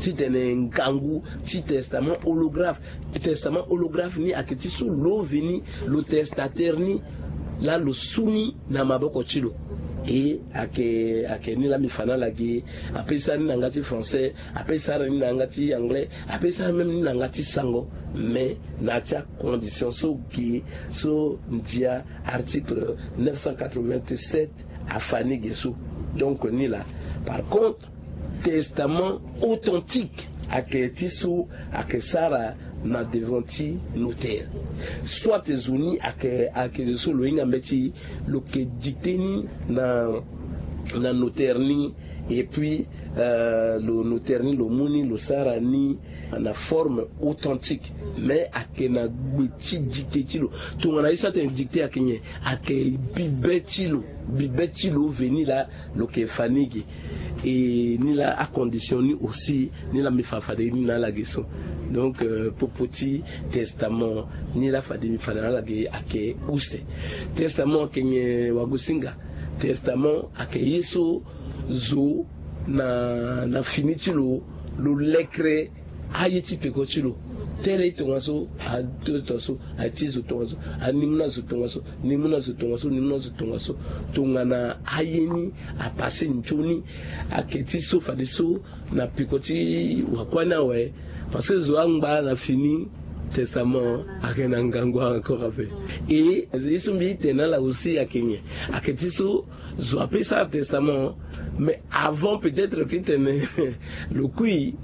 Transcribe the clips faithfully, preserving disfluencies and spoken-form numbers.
Titene ngangu ti testament holographe. Testament holographe ni ayeke ti so lo veni lo testateur ni laa lo su ni na maboko ti lo. E ayeke ayeke ni laa mbi fa na ala ge. Ape sara ni na yanga ti français, ape sara ni na yanga ti anglais, ape sara même ni na yanga ti sango. Mais na ya ti acondition so ge so ndia article neuf cent quatre-vingt-sept afa ni ge so. Donc ni laa. Par contre, testament authentique ayeke ti so ayeke sara na devant ti notaire. Soit zo ni ayeke ayeke zo so lo hinga mbeti lo yeke dicter ni na na notaire ni. Et puis euh, lo notaire ni lo mu ni lo sara ni na forme authentique. Mais ayeke na gbe ti dicter ti lo. Tongana ye so atene dicter ayeke nyen? Ayeke bibe ti lo, bibe ti lo veni laa lo yeke fa ni ge. E ni laa acondition ni aussi ni laa mbi fa fade ni na ala ge so. Donc euh, popo ti testament ni laa fade mbi fa na ala ge ayeke use. Testament ayeke nyen wagosinga? Testament ayeke ye so zo na na fini ti lo lo lekre aye ti peko ti lo. Tele e tongaso ato tongaso aye ti zo tongaso, ani mu na zo tongaso, ni mu na zo tongaso, ni mu na zo tongaso. Tongana aye ni apase nzoni ayeke ti so fadeso na peko ti wakua ni awe. Parce que zo angba na fini testament ayeke na ngangu encore ape. E ye so mbi tene na ala aussi ayeke nyen? Ayeke ti so zo ape sara testament mais avant peut-être ti tene lo kui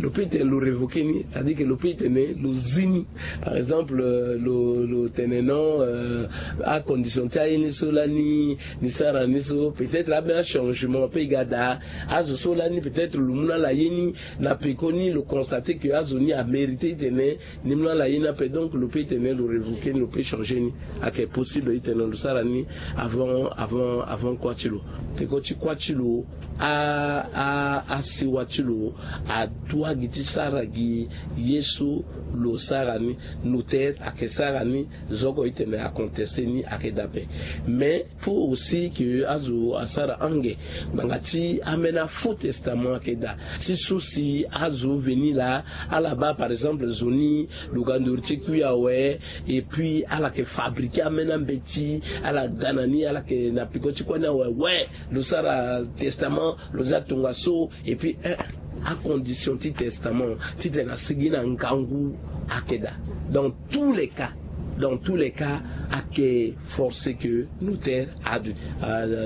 lo peut tene lo révoquer ni, c'est-à-dire que lo peut tene lo zi ni. Par exemple euh, lo lo tene non euh, acondition ti aye ni so lani ni sara ni so peut-être abe achangement ape e ga daa. Azo so lani peut-être lo mu na ala ye ni na peko ni lo constater que azo ni amériter ti tene ni mu na ala ye ni ape, donc lo peut tene lo révoquer ni, lo peut changer ni. Ayeke possible ti tene lo sara ni avant avant avant kua ti lo. Peko ti kua ti lo a a asiwa ti lo adoit gi ti sara gi ye so lo sara ni. Notaire ayeke sara ni zo oko ti tene acontester ni ayeke daa ape. Mais faut aussi que azo asara ange ngbanga ti ambeni afaux testament ayeke daa. Ti so si azo veni laa ala baa par exemple zo ni lo ga nduru ti kui awe. Et puis ala yeke fabriquer ambeni ambeti ala ga na ni ala yeke na peko ti kua ni awe we lo sara testament lo za tongaso. Et puis eh, acondition ti testament ti tene asigi na ngangu ayeke daa. Dans tous les cas, dans tous les cas ayeke forcer que notaire aduti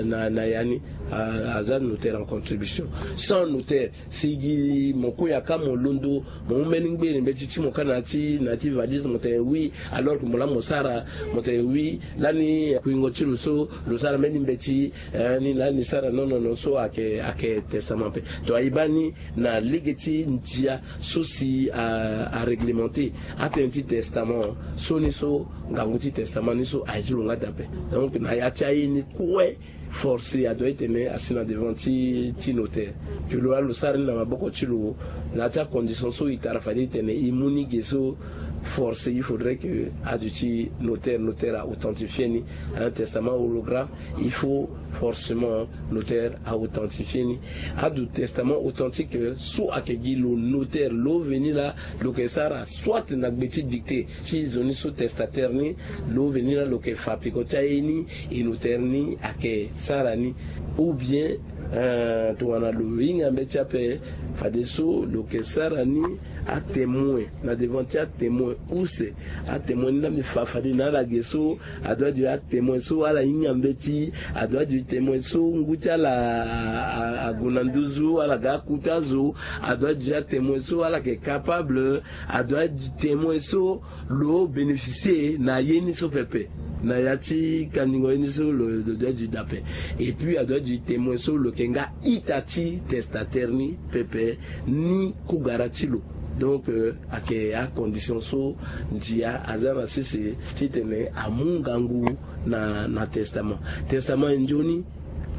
na na ya ni aza notaire en contribution. Sans notaire si gi mo kue yaka mo londo mo mu mbeni ngbere mbeti ti mo kâ na ya ti na ya ti valise mo tene oui. Alors que mo laa mo sara mo tene oui lani kuingo ti lo so lo sara mbeni mbeti eh, ni lani sara non non non so ayeke ayeke testament ape. Donc aye baa ni na lege ti ndia so si a a réglementer atënë ti testament so ni so ngangu ti testament ni so aye ti lo nga daa ape. Donc na ya ti aye ni kue force adoit ti tene asi na devant ti ti notaire. Ke lo wala lo sara ni na maboko ti lo na ya ti acondition so e tara fade ti tene e mu ni ge so. Force il faudrait que aduti notaire notaire a authentifier ni. Un testament holographe il faut forcément notaire a authentifier ni. Aduti testament authentique so ayeke gi lo notaire lo veni laa lo yeke sara soit na gbe ti dicter ti zo ni so testataire ni lo veni laa lo yeke fa peko ti aye ni. E notaire ni ayeke sara ni ou bien tongana lo hinga mbeti ape fadeso lo yeke sara ni. Atemoin na devant ti atemoin use atemoin ni laa mbi fa fade na ala ge so. Adoit du atemoin so ala hinga mbeti adoit du temoin so ngu ti ala ague na nduzu ala ga aku ti azo. Adoit du atemoin so ala yeke capable adoit du temoin so lo bénéficier na ye ni so pepe. Na ya ti kandingo ye ni so lo doit du daa ape. Et puis adoit du temoin so lo yeke nga ita ti testataire ni pepe ni kugara ti lo. Donc ayeke acondition so ndia aza na sese titene amu ngangu na na testament. Testament e nzoni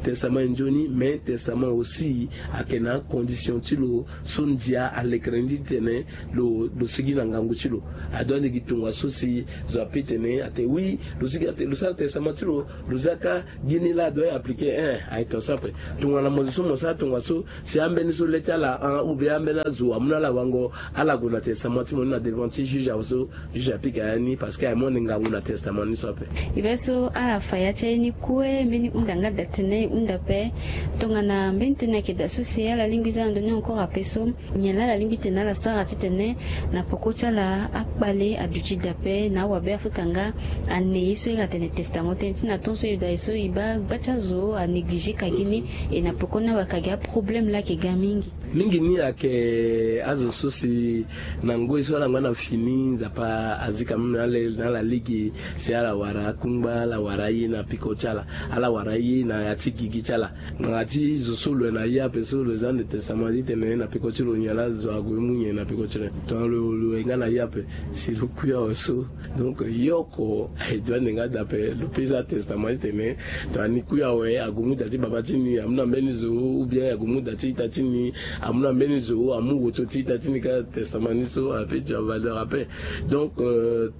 Testament e nzoni, mais testament aussi ayeke na acondition ti lo so ndia alekere ni titene lo lo sigi na ngangu ti lo. Adoit ande gi tongua so si zo ape tene ate oui, lo sigi ate lo sara testament ti lo, lo za ka gi ni laa adoit e appliquer. Ein, aye tongaso ape. Tongana mo zo so mo sara tongaso, si ambeni so le ti ala ahon ou bien ambeni azo amu na ala wango, ala gue na testament ti mo ni na devant ti juge awe so juge apika ya ni parce que aye mo ni ngangu na testament ni so ape. E be so ala fa ya ti aye ni kue mbeni hunda nga da tene e hunda ape. Tongana mbeni tënë ayeke da so si ala lingbi za na ndoni encore ape so, nyen laa ala lingbi tene ala sara titene na peko ti ala akpale aduti da ape na awabe afrika nga? Ane ye so e ga tene testament tënë ti na ton so e da ye so e baa gba ti azo anéglige ka gi ni. E na peko ni awe aka gi aproblème laa ayeke ga mingi. Mingi ni ayeke azo so si na ngoi so ala ngba na fini nzapa azi quand même na ala lege si ala wara akungba, ala wara aye na peko ti ala, ala wara aye na ya ti gigi ti ala. Ngbanga ti zo so lo yeke na ye ape so lo za ande testament titene na peko ti lo nyen laa zo ague mu nyen na peko ti lo. Tongana lo lo yeke nga na ye ape si lo kui awe so, donc yo oko aye doit ande nga da ape lo pe za testament titene tongana ni kui awe ague mu da ti baba ti ni amu na mbeni zo, ou bien ague mu da ti ita ti ni amu na mbeni zo, amu woto ti ita ti ni kâ. Testament ni so ape du en valeur ape. Donc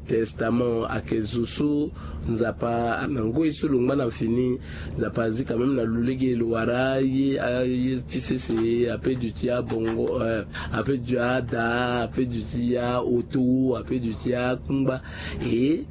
testament ayeke zo so nzapa na ngoi so lo ngba na fini, nzapa azi quand même na lo lege lo wara aye aye ti sese ape duti abongo, ape duti ada, ape duti aoto, ape duti akungba. E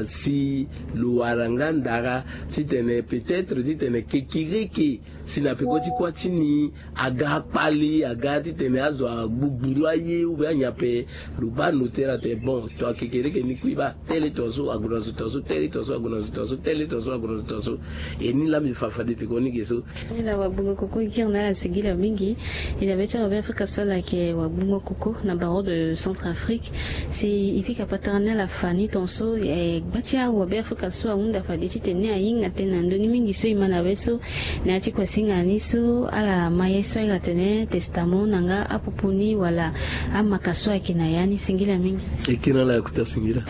si lo wara nga ndara titene peut-être titene kekereke si na peko ti kuâ ti ni aga akpali aga titene azo agbugburu aye ou bien anyen ape, lo baa noter ate bon to akekereke ni kui baa tele tongaso ague na zo tongaso tele tongaso ague na zo tongaso tele tongaso ague na zo tongaso. E ni laa mbi fa fade peko ni ge so. Ala wagbongo koko giri na ala singila mingi. E dabe ti awabe afrika so ala yeke wagbongo koko na barreau de centre afrique. Si e pika patara ni ala fa ni tongaso e gba ti awabe afrika so ahunda fade titene ni ahinga tënë na ndö ni mingi so e ma na be so. Na ya ti kuasinga ni so ala ma ye so ahinga tene testament na nga apupu ni wala amaka so ayeke na ya ni singila mingi. E kiri na ala ya kota singila.